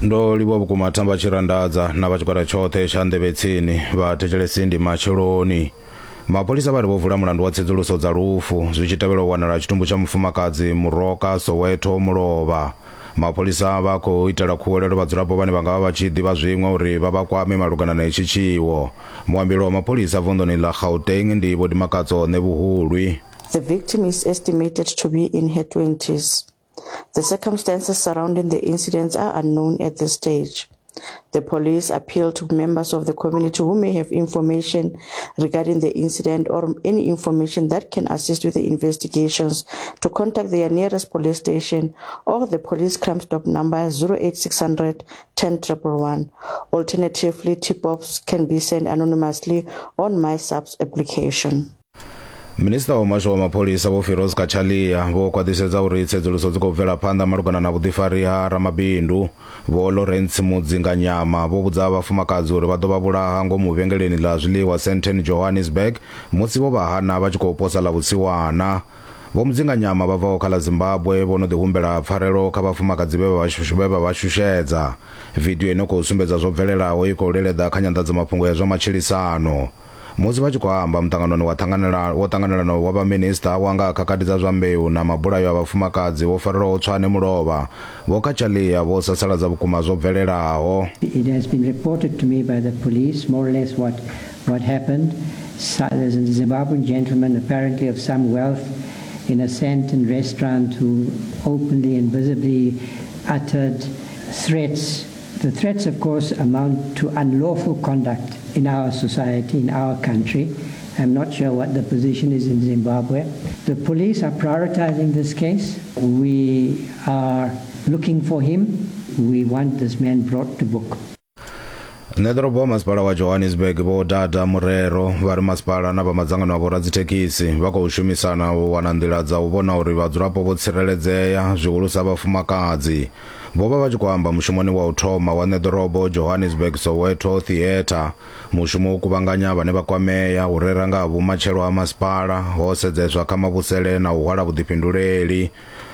Ndo livhuwa vhukuma Thamba Tshirandadza na vha tshigwada tshoṱhe tsha Nḓevhe Tsini. Vhathetshelesi ndi matsheloni. Mapholisa vha ri vho vula mulandu wa tsedzuluso dza lufu zwi tshi tevhela u wanala ha tshitumbu tsha mufumakadzi Muroka Soweto Mulovha. Mapholisa vha khou itela khuwelelo vhadzulapo vhane vha nga vha vha tshi ḓivha zwiṅwe uri vha vha kwame malugana na itshi tshiwo. Muambeli wa mapholisa vunḓuni ḽa Gauteng ndi Vho Dimakatso Ṋevhuhulwi. The victim is estimated to be in her 20s. The circumstances surrounding the incidents are unknown at this stage. The police appeal to members of the community who may have information regarding the incident or any information that can assist with the investigations to contact their nearest police station or the police crime stop number 08600 10111. Alternatively, tip-offs can be sent anonymously on MySAPS application. Minisiṱa wa Muhasho wa Mapholisa Vho Firoz Cachalia vho khwaṱhisedza uri tsedzuluso dzi khou bvela phanḓa malugana na vhuḓifari ha ramabindu Vho Lawrence Mudzinganyama. Vho vhudza vhafumakadzi uri vha ḓo vha vhulaha ngomu vhengeleni ḽa zwiḽiwa Sandton Johannesburg musi vho vha hana vha tshi khou posa ḽa vhusiwana. Vho Mudzinganyama vha bvaho kha ḽa Zimbabwe vho no ḓi humbela pfarelo kha vhafumakadzi vhe vha vha shushedza. Vidio ino khou sumbedza zwo bvelelaho i khou leleḓa kha nyanḓadzamafhungo ya zwa matshilisano. Musi vha tshi khou amba muṱanganoni wa ṱhanganela wo ṱanganelanaho wa vhaminisiṱa wa nga ha khakhathi dza zwa mbeu na mabulayo a vhafumakadzi vho farelwaho Tshwane mulovha, Vho Cachalia vho sasaladza vhukuma zwo bvelelaho. It has been reported to me by the police more or less what what happened. So, there's a Zimbabwean gentleman apparently of some wealth in a Sandton restaurant who openly and visibly uttered threats. The threats, of course, amount to unlawful conduct in our society, in our country. I'm not sure what the position is in Zimbabwe. The police are prioritizing this case. We are looking for him. We want this man brought to book. Ṋeḓorobo wa masipala wa Johannesburg Vho Dada Morero vha ri masipala na vha madzangano a vhoradzithekhisi vha khou shumisana u wana nḓila dza u vhona uri vhadzulapo vho tsireledzea, zwihulusa vhafumakadzi. Vho vha vha tshi khou amba mushumoni wa u thoma wa ṋeḓorobo Johannesburg Soweto Theatre. Mushumo u kuvhanganya vhane vha kwamea, u rera nga ha vhumatshelo ha masipala, ho sedzeswa kha mavhusele na u hwala vhuḓifhinduleli.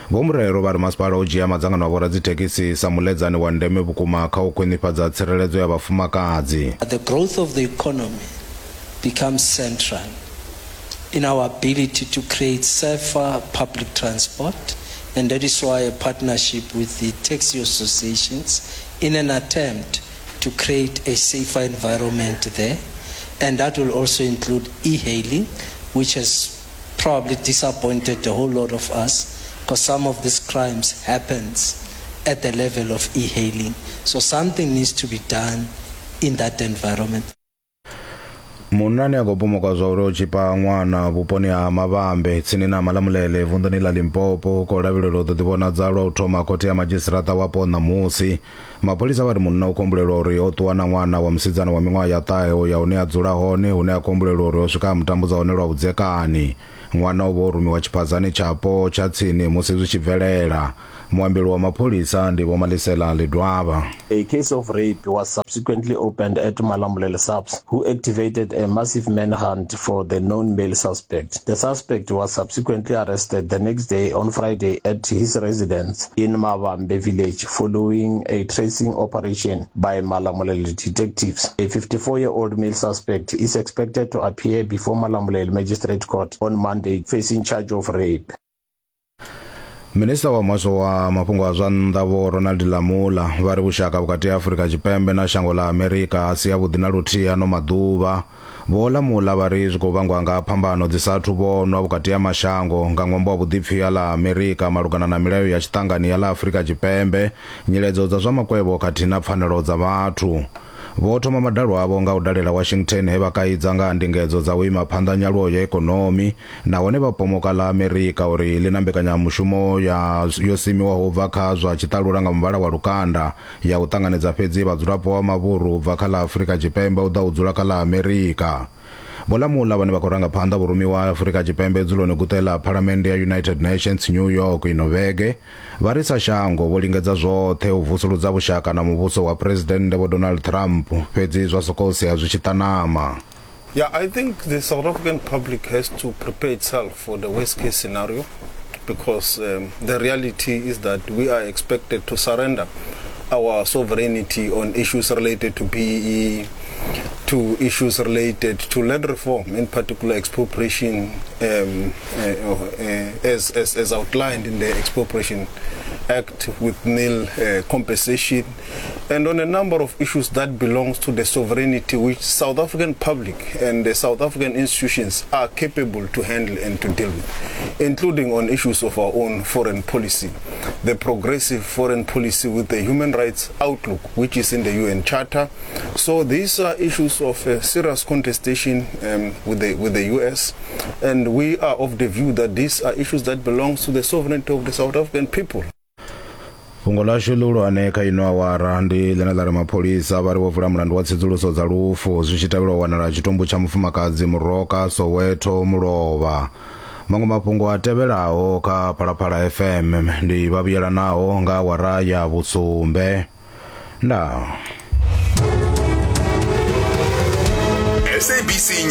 Vho Murero vha ri masipala u dzhia madzangano a vhoradzithekhisi sa muḽedzani wa ndeme vhukuma kha u khwinifhadza tsireledzo ya vhafumakadzi. The growth of the economy becomes central in our ability to create safer public transport, and that is why a partnership with the taxi associations in an attempt to create a safer environment there. And that will also include e-hailing, which has probably disappointed a whole lot of us because some of these crimes happens at the level of e-hailing. So something needs to be done in that environment. Munna ane a khou pomokwa zwa uri o tshipa ṅwana vhuponi ha Mavhambe tsini na Malamulele vunḓuni ḽa Limpopo u khou lavhelelwa u ḓo ḓivhonadza lwa u thoma khothe ya madzhisiṱiraṱa wapo ṋamusi. Mapholisa vha ri munna u khou humbulelwa uri o ṱuwa na ṅwana wa musidzana wa miṅwaha ya ṱahe u ya hune a dzula hone hune a khou humbulelwa uri o swika a mu tambudza hone lwa vhudzekani. Ṅwana o vha o rumiwa tshiphazani tshapo tsha tsini musi zwi tshi bvelela. Muambeli wa mapholisa ndi Vho Malisela Ledwaba. A case of rape was subsequently opened at Malamulele SAPS, who activated a massive manhunt for the known male suspect. The suspect was subsequently arrested the next day on Friday at his residence in Mavambe village following a tracing operation by Malamulele detectives. A 54-year-old male suspect is expected to appear before Malamulele Magistrate Court on Monday facing charge of rape. Minisiṱa wa Muhasho wa Mafhungo a zwa Nnḓa Vho Ronald Lamola vha ri vhushaka vhukati ha Afrika Tshipembe na shango ḽa Amerika a si avhuḓi na luthihi ano maḓuvha. Vho Lamola vha ri zwi khou vhangwa nga phambano dzi sa athu vhonwa vhukati ha mashango nga ṅwambo wa vhuḓipfi ha ḽa Amerika malugana na milayo ya tshiṱangani ya ḽa Afrika Tshipembe, nyiledzo dza zwa makwevho khathihi na pfanelo dza vhathu. Vho thoma madalo avho nga u dalela Washington he vha kaidza nga ha ndingedzo dza u ima phanḓa nyaluwo ya ikonomi nahone vha pomoka ḽa Amerika uri ḽi na mbekanyamushumo ya yo simiwaho u bva kha zwa tshiṱalula nga muvhala wa lukanda ya u ṱanganedza fhedzi vhadzulapo vha mavhuru u bva kha ḽa Afrika Tshipembe u ḓa u dzula kha ḽa Amerika. Vho Lamola vhane vha khou ranga phanḓa vhurumiwa ha Afrika Tshipembe dzuloni guṱe ḽa Phalamennde ya United Nations New York ino vhege, vha ri sa shango vho lingedza zwoṱhe u vusuludza vhushaka na muvhuso wa Phresidennde Vho Donald Trump fhedzi zwa sokou sea zwi tshi ṱanama. Yeah, I think the South African public has to prepare itself for the worst case scenario because um, the reality is that we are expected to surrender our sovereignty on issues related to BEE, to issues related to land reform, in particular expropriation, um, uh, uh, as, as, as outlined in the Expropriation Act with nil uh, compensation, and on a number of issues that belongs to the sovereignty which South African public and the South African institutions are capable to handle and to deal with, including on issues of our own foreign policy, the progressive foreign policy with the human rights outlook, which is in the UN Charter. So these are issues of uh, serious contestation um, with the with the US, and we are of the view that these are issues that belongs to the sovereignty of the South African people. Fhungo ḽashu ḽihulwane kha ino awara ndi ḽine ḽa ri mapholisa vha ri vho vula mulandu wa tsedzuluso dza lufu zwi tshi tevhela u wanala tshitumbu tsha mufumakadzi Muroka Soweto Mulovha. Maṅwe mafhungo a tevhelaho kha Phalaphala FM ndi vha vhuyelanaho nga awara ya vhusumbe. Ndaa. SABC.